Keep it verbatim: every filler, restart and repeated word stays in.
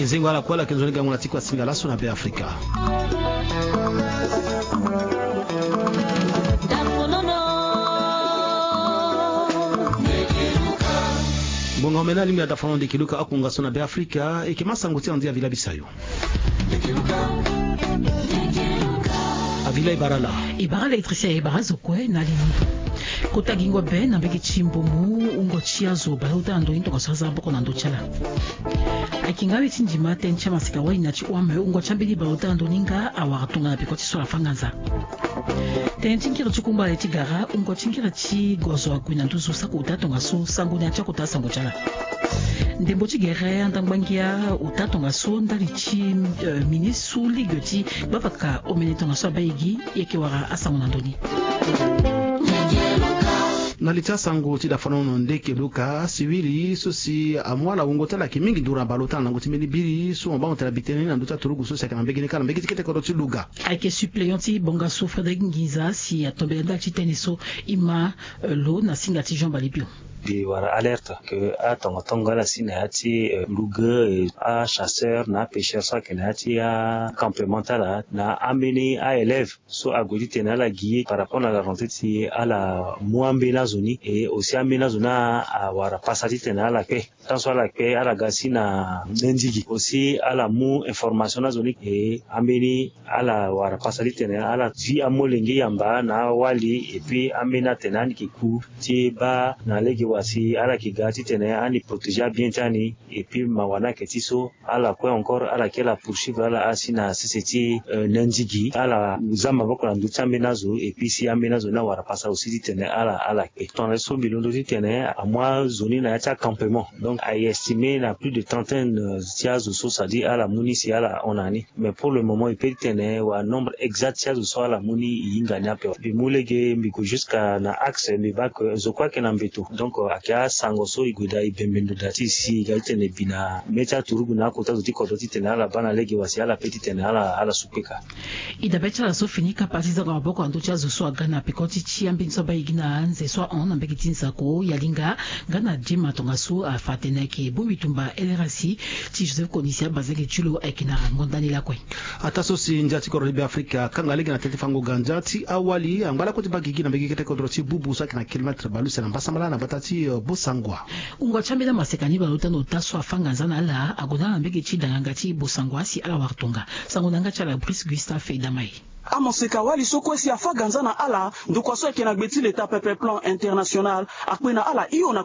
Ezengo ala kue ala yeke nzoni gango na ti kua singa laso na Be Afrika. Ngonga omene alingbi na dafono ndeke luka akunga so na Be Afrika eke ma sango ti anzi avila bisayo. Avila e bara ala. E bara ala électricien, e bara azo kue na alili. Kota gingo be na mbege ti mbumu wungo ti azo baleota na ndoni tongaso aza boko na ndö ti ala. Ayeke nga we ti ndima tënë ti amaseka wali na ti wame wungo ti ambeni baleota na ndoni nga awara tongana peko ti so ala fâ nganza. Tënë ti ngiri ti kumbala ti gara wungo ti ngiri ti gozo ague na nduzu saki uta tongaso sango na ya ti akota sango ti ala. Ndembo ti gere andangba ngia uta tongaso ndali ti ministre ligue ti gbavaka omene tongaso abaigi. Yeke wara asango na ndoni. Na li ti asango ti dafanono ndeke luka siwiri so si amu ala wungo ti ala yeke mingi nduru na baleota na lango ti mbeni biri so mo bango tena bitene ni na ndö ti aturugu so si ayeke na mbege ni kâ na mbege ti kete kodro ti luga. Ayeke suppléant ti bonga so Frédéric Nginza si atombela ndali ti tënë so ima lo na singa ti Jean Balibio. Mbi wara alerte ke atongatonga ala si na ya ti luge achasseur na apêcheur so ayeke na ya ti acampement ti ala na ambeni aélève so ague titene ala gi ye par rapport na la rentrée ti ala mu ambeni azo ni e aussi ambeni azo ni awara pasa titene ala kpe. Tant so ala kpe ala ga si na nendigi aussi ala mu information na azo ni e ambeni ala wara pasa titene ala zi amolenge yamba na awali et puis ambeni atene ani yeke ku ti baa na lege wa si ala yeke ga titene ani protéger abien ti ani. Et puis mawa ni ayeke ti so ala kue encore ala yeke la poursuivre ala asi na sese ti nendigi ala za maboko na ndö ti ambeni azo et puis si ambeni azo ni awara pasa aussi titene ala ala kpe. Tongana so mbi londo titene amu azo ni na ya ti acampement donc aye estimé na plus de trentaine ti azo so c'est à dire ala mu ni si ala hon na ni. Mais pour le moment e peut titene wala nombre exact ti azo so ala mu ni e hinga ni ape. Mbi mu lege mbi gue jusqu'à na axe mbi baa ke zo kue ayeke na mbeto donc ayeke asango so e gue daa e bembe ndo daa ti e si e ga titene e bi na mê ti aturugu na akota zo ti kodro titene ala baa na lege wa si ala peut titene ala ala su kpeka. E dabe ti ala so fini kapa ti za maboko na ndö ti azo so aga na peko ti ti ambeni so abaa e gi na anze so ahon na mbege ti nzako yalinga nga na dema tongaso afa atene ayeke bongbi tumba lrsi ti Joseph Kony si abazenge ti lo ayeke na ngonda ni lakue. Ataa so si ndia ti kodro ti Be Afrika akanga lege na tënë ti fango ganza ti awali angba lakue ti baa gigi na mbege kete kodro ti bubu so ayeke na kilomètre baleuse na mbasambala na gbata ti Bossangoa. Wungo ti ambeni amaseka ni baleota na ota so afâ nganza na ala ague na ala na mbege ti danganga ti Bossangoa si ala wara tonga. Sango na yanga ti ala Brice Gustave Edamay. Amaseka wali so kue si afâ ganza na ala ndokua so ayeke na gbe ti leta pepe plan international akpe na ala hio na